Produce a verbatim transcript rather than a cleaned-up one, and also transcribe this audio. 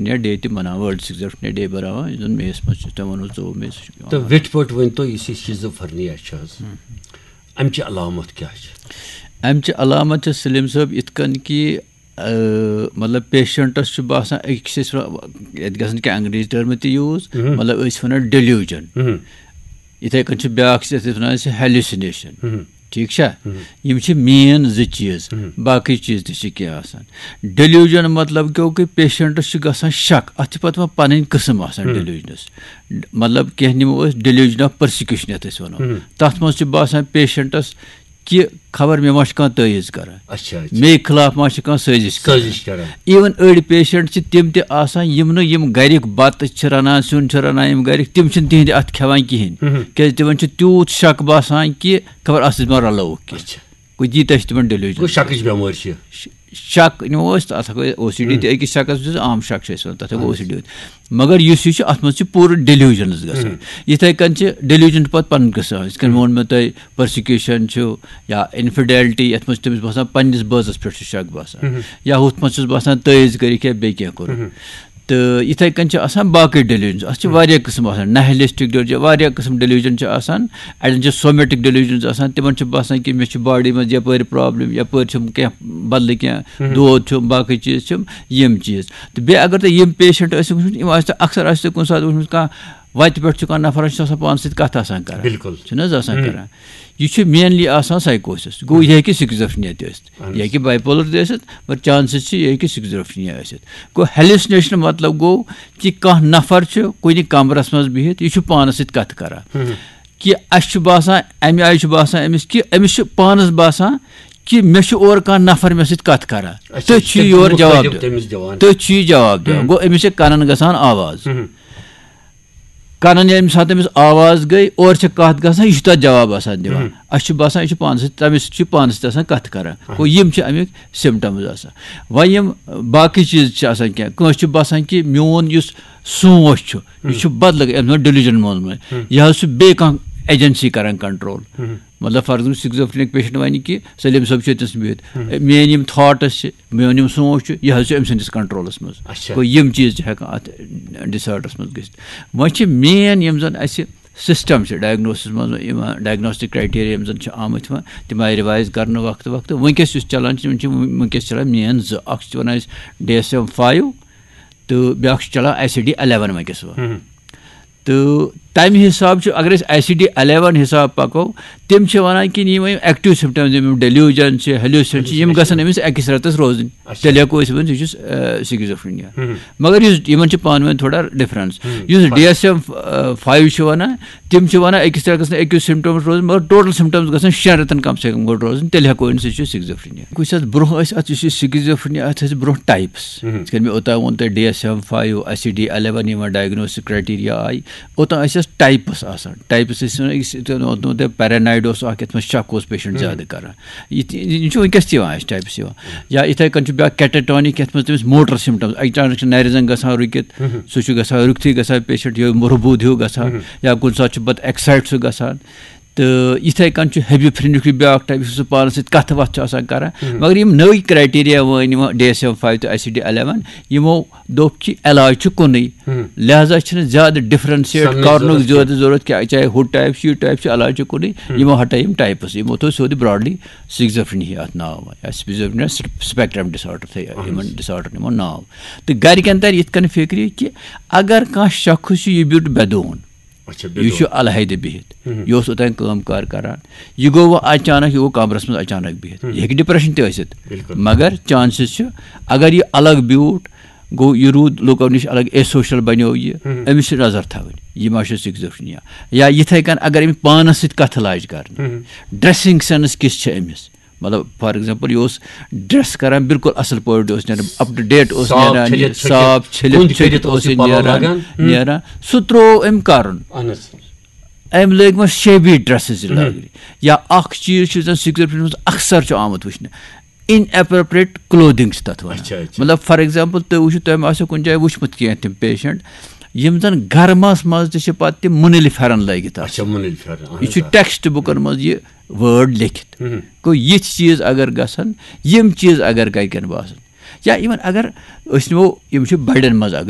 یا ڈے تہِ مناوان، ورلڈ سکزوفرینیا ڈے بناوان، یُس زن مے یس منٛز چھُ، تۄہہِ ووٚنوُ ژوٚوُہ مے یس چھُ یِوان۔ تہٕ ویٹھِ پٲٹھۍ ؤنۍ تو، یُس یہِ شِزوفرنیا چھُ حظ، امہِ چہِ علامت کیٛاہ چھِ؟ امہِ چہِ علامت چھِ سلیم صٲب یِتھ کٔنۍ کہِ، آ، مطلب پیشنٹس چھُ باسان، أکِس چھِ أسۍ ونان، ییٚتہِ گژھن کینٛہہ انگریزی ٹرمہٕ تہِ یوٗز، مطلب أسۍ چھِ ونان ڈیلیوجن، یِتھے کٔنۍ چھُ بیٛاکھ چیٖز، یَتھ أسۍ ونان چھِ ہیلوسِنیشن۔ ٹھیٖک چھا؟ یِم چھِ مین زٕ چیٖز، باقٕے چیٖز تہِ چھِ کینٛہہ آسان۔ ڈیلیوجن مطلب گوٚو کہِ پیشنٹس چھُ گژھان شک، اتھ چھِ پتہٕ وۄنۍ پنٕنۍ قٕسم آسان ڈیلیوجنس۔ مطلب کینٛہہ نِمو أسۍ ڈیلیوجن آف پرسیکیوشن، یتھ أسۍ ونو، تتھ منٛز چھِ باسان پیشنٹس کہِ خبر مےٚ ما چھُ کانٛہہ تٲویٖز کران، اچھا، اچھا۔ مے خلاف ما چھُ کانٛہہ سٲزِش کران۔ سٲزِش کران۔ ایون أڑۍ پیشنٹ چھِ تِم تہِ آسان، یِم نہٕ، یِم گرِکۍ بتہٕ چھِ رنان، سیُن چھِ رنان، یِم گرِکۍ، تِم چھِنہٕ تِہنٛدِ اتھ کھٮ۪وان کِہینۍ، کیازِ تِمن چھُ تیوٗت شک باسان کہِ خبر اتھ سۭتۍ ما رلووُکھ کینٛہہ۔ اچھا۔ گوٚو ییٖتیٛاہ چھِ تِمن ڈیلیوجن۔ گوٚو شکٕچ بٮ۪مٲرۍ چھِ۔ شک نِمو أسۍ، تَتھ ہٮ۪کو او سی ڈی تہِ أکِس شکس وٕچھِتھ، عام شک چھِ أسۍ وَنان، تَتھ ہٮ۪کو او سی ڈی ؤنِتھ۔ مگر یُس یہِ چھُ، اَتھ منٛز چھِ پوٗرٕ ڈیلیوجنز گژھان۔ یِتھَے کٔنۍ چھِ ڈیلیوجن چھِ پَتہٕ پَنٕنۍ قٕسم، یِتھ کٔنۍ ووٚن مےٚ تۄہہِ، پرسیکیوشن چھُ یا انفیڈیلٹی، یَتھ منٛز چھِ تٔمِس باسان پنٛنِس بٲژَس پٮ۪ٹھ چھُ شک باسان، یا ہُتھ منٛز چھُس باسان تٲویٖز کٔرِکھ یا بیٚیہِ کینٛہہ کوٚرُکھ۔ تہٕ یِتھَے کٔنۍ چھِ آسان باقٕے ڈیلیوجنز، اَتھ چھِ واریاہ قٕسم آسان، نہلسٹک ڈیلیوجن، واریاہ قٕسم ڈیلیوجن چھِ آسان۔ اَڑٮ۪ن چھِ سومیٹک ڈیلیوجنز آسان، تِمن چھُ باسان کہِ مےٚ چھِ باڈی منٛز یپٲرۍ پرابلم، یپٲرۍ چھُم کینٛہہ بدلہٕ کینٛہہ دود چھُم، باقٕے چیٖز چھِم، یِم چیٖز۔ تہٕ بیٚیہِ اگر تۄہہِ یِم پیشنٹ ٲسِو وٕچھمٕتۍ، یِم آسہِ تۄہہِ اکثر آسہِ تۄہہِ کُنہِ ساتہٕ وٕچھمُت، کانٛہہ وتہِ پٮ۪ٹھ چھُ کانٛہہ نفر، سُہ چھُ آسان پانس سۭتۍ کتھ آسان کران۔ بِلکُل۔ چھُنہٕ حظ آسان کران؟ یہِ چھُ مینلی آسان سایکوسس، گوٚو یہِ ہیٚکہِ سکزوفرینیا تہِ ٲسِتھ، یہِ ہیٚکہِ باے پولر تہِ ٲسِتھ، مگر چانسز چھِ یہِ ہیٚکہِ سکزوفرینیا ٲسِتھ۔ گوٚو ہیلوسنیشن مطلب گوٚو کہِ کانٛہہ نفر چھُ کُنہِ کمرس منٛز بِہِتھ، یہِ چھُ پانس سۭتۍ کتھ کران۔ کہِ اسہِ چھُ باسان، امہِ آیہِ چھُ باسان أمِس کہِ أمِس چھُ پانس باسان کہِ مےٚ چھُ اورٕ کانٛہہ نفر مےٚ سۭتۍ کتھ کران۔ اچھا، تٔتھۍ یہِ چھُ چھُ یورٕ تٔمِس جواب مُخٲطِب دِوان۔ تٔمِس دِوان۔ تٔتھۍ چھُ یہِ جواب دِوان۔ گوٚو أمِس چھِ کنن گژھان آواز۔ کنن ییٚمہِ ساتہٕ أمِس آواز گٔے، اورٕ چھِ کتھ گژھان، یہِ چھُ تتھ جواب آسان دِوان۔ اسہِ چھُ باسان یہِ چھُ پانس سۭتۍ، تٔمِس چھُ پانس سۭتۍ آسان کتھ کران۔ گوٚو یِم چھِ امیُک سمٹمز آسان۔ وۄنۍ یِم باقٕے چیٖز چھِ آسان کینٛہہ، کٲنٛسہِ چھُ باسان کہِ میون یُس سونٛچ چھُ، یہِ چھُ بدلہٕ، أمۍ ووٚن ڈیلیوجن منٛز منٛز۔ یہِ حظ چھُ بیٚیہِ کانٛہہ ایجنسی کران کنٹرول۔ مطلب فار ایگزامپل سکزوفرینک پیشنٹ ونہِ کہِ سلیم صٲب چھُ ییٚتنس بِہِتھ، میٲنۍ یِم تھاٹس چھِ، میون یِم سونٛچ چھُ، یہِ حظ چھُ أمۍ سٕنٛدِس کنٹرولس منٛز۔ اچھا۔ گوٚو یِم چیٖز چھِ ہٮ۪کان اتھ ڈس آرڈرس منٛز گٔژھِتھ۔ وۄنۍ چھِ مین یِم زن اسہِ سسٹم چھِ ڈائگنوسس منٛز یِوان، ڈائگنوسٹک کرائٹیریا یِم زن چھِ آمٕتۍ وۄنۍ، تِم آیہِ ریوائز کرنہٕ وقتہٕ وقتہٕ۔ وٕنکیٚس یُس چلان چھُ، یِم چھِ وٕنکیٚس چلان مین زٕ، اکھ چھِ وَنان أسۍ ڈی ایس ایم فایو تہٕ بیٛاکھ چھُ چلان آئی سی ڈی الیون وٕنکیٚس وۄنۍ۔ تہٕ تَمہِ حساب چھُ، اگر أسۍ آئی سی ڈی الیون حساب پکو، تِم چھِ وَنان کہِ یِم ایکٹیو سمٹمز، یِم ڈیلیوجن چھِ، ہیلوسن چھِ، یِم گژھن أمِس أکِس رٮ۪تس روزٕنۍ۔ اچھا۔ تیٚلہِ ہٮ۪کو أسۍ ؤنِتھ یہِ چھُ سکزوفرینیا۔ مگر یُس یِمن چھِ پانہٕ ؤنۍ تھوڑا ڈفرنس۔ یُس ڈی ایس ایم فایو چھِ وَنان، تِم چھِ وَنان أکِس رٮ۪تس گژھن أکِس سمٹمز روزٕنۍ، مگر ٹوٹل سمٹمز گژھن شٮ۪ن رٮ۪تن کم سے کم گۄڈٕ روزٕنۍ، تیٚلہِ ہٮ۪کو أمِس یہِ چھُ سکزوفرینیا۔ کُنہِ ساتہٕ برونٛہہ ٲسۍ اتھ، یُس یہِ سکزوفرینیا، اتھ ٲسۍ برونٛہہ ٹائپس۔ یِتھ کٔنۍ مےٚ اوٚتام ووٚن تۄہہِ D S M five, I C D eleven, یِمن ڈائگنوسٹک کرائٹیریا آیہِ، اوٚتام ٲسۍ اَتھ ٹائپس آسان۔ ٹائپس ٲسۍ وَنان، یُس یِتھ کٔنۍ ووٚنمُت تۄہہِ، پیرانویڈ اوس اکھ، یَتھ منٛز شک اوس پیشنٹ زیادٕ کران۔ یہِ تہِ، یہِ چھُ وٕنکیٚس تہِ یِوان اَسہِ ٹائپس یِوان۔ یا یِتھے کٔنۍ چھُ بیٛاکھ کیٹاٹونک، یَتھ منٛز تٔمِس موٹر سمٹمز، اچانک چھِ نرِ زنٛگ گژھان رُکِتھ، سُہ چھُ گژھان رُکتھٕے گژھان پیشنٹ، یہِ رُبوٗد ہیوٗ گژھان، یا کُنہِ ساتہٕ چھُ پتہٕ ایکسائٹ سُہ گژھان۔ تہٕ یِتھے کٔنۍ چھُ ہیبیفرینُک یہِ بیٛاکھ ٹائپ، یُس سُہ پانس سۭتۍ کتھٕ وتھٕ چھُ آسان کران۔ مگر یِم نٔوۍ کرائٹیریا وٲنۍ یِمو ڈی ایس ایم فایو تہٕ آئی سی ڈی الیون، یِمو دوٚپ کہِ علاج چھُ کُنُے، لہذا چھِنہٕ زیادٕ ڈفرنشیٹ سمنٕچ کرنُک ضروٗرت زیادٕ ضروٗرت کینٛہہ، چاہے ہُہ ٹائپ چھُ، یہِ ٹائپ چھُ، علاج چھُ کُنُے۔ یِمو ہٹٲے یِم ٹائپس، یِمو تھوٚو سیوٚدُے براڈلی سکزوفرینیا اتھ ناو، یا سکزوفرینیا سپیکٹرم ڈس آرڈر تھٲے یِمن ڈس آرڈر یِمو ناو۔ تہٕ گرِکٮ۪ن ترِ یِتھ کٔنۍ فکرِ کہِ اگر کانٛہہ شخص چھُ، یہِ بیوٗٹھ بے دون، اچھا، یہِ چھُ الحیدٕ بِہِتھ، یہِ اوس اوٚتام کٲم کار کران، یہِ گوٚو وۄنۍ اچانک، یہِ گوٚو کمرس منٛز اچانک بِہِتھ، یہِ ہیٚکہِ ڈپریشن تہِ ٲسِتھ، بِلکُل۔ مگر چانسز چھِ، اگر یہِ الگ بیوٗٹھ گوٚو، یہِ روٗد لُکو نِش الگ، اے سوشل بنیو یہِ، أمِس چھِ نظر تھاوٕنۍ، یہِ ما چھُ سکزوفرینیا۔ یا یِتھے کٔنۍ اگر أمِس پانس سۭتۍ کتھٕ لاجہِ کرنہِ، ڈریسنگ سینس کِژھ چھِ أمِس، مطلب فار ایگزامپل یہِ اوس ڈریس کران بِلکُل اصل پٲٹھۍ، اوس نیران اپ ٹو ڈیٹ، اوس صاف نیران یہِ چھٔلِتھ چھٔکِتھ، صاف چھٔلِتھ کُنٛدۍ چھٔکِتھ کٔرِتھ اوس اوس یہِ یہِ پَلو نیران، لاگان۔ نیران، سُہ ترٛوو أمۍ کرُن۔ اہن حظ۔ أمۍ لٲگۍ وۄنۍ شیبی ڈریسز لاگنہِ۔ یا اکھ چیٖز چھُ زن سکزوفرینیا منٛز اکثر چھُ آمُت وٕچھنہٕ، ان اپروپریٹ کلودنگ چھِ تتھ ونان۔ اچھا، اچھا۔ مطلب فار ایگزامپل تُہۍ وٕچھِو، تۄہہِ ما آسیو کُنہِ جایہِ وٕچھمُت کینٛہہ تِم پیشنٹ یِم زن گرمس منٛز تہِ چھِ پتہٕ تِم مُنٔلۍ پھٮ۪رن لٲگِتھ آسان۔ اچھا، مُنٔلۍ پھٮ۪رن، اہن یہِ حظ، چھُ آ۔ ٹیکسٹ بُکن منٛز یہِ وٲرڈ لیکھِتھ۔ گوٚو یِتھۍ چیٖز اگر گژھن، یِم چیٖز اگر گرِکٮ۪ن باسن، یا ایون اگر أسۍ نِمو، یِم چھِ بڑٮ۪ن منٛز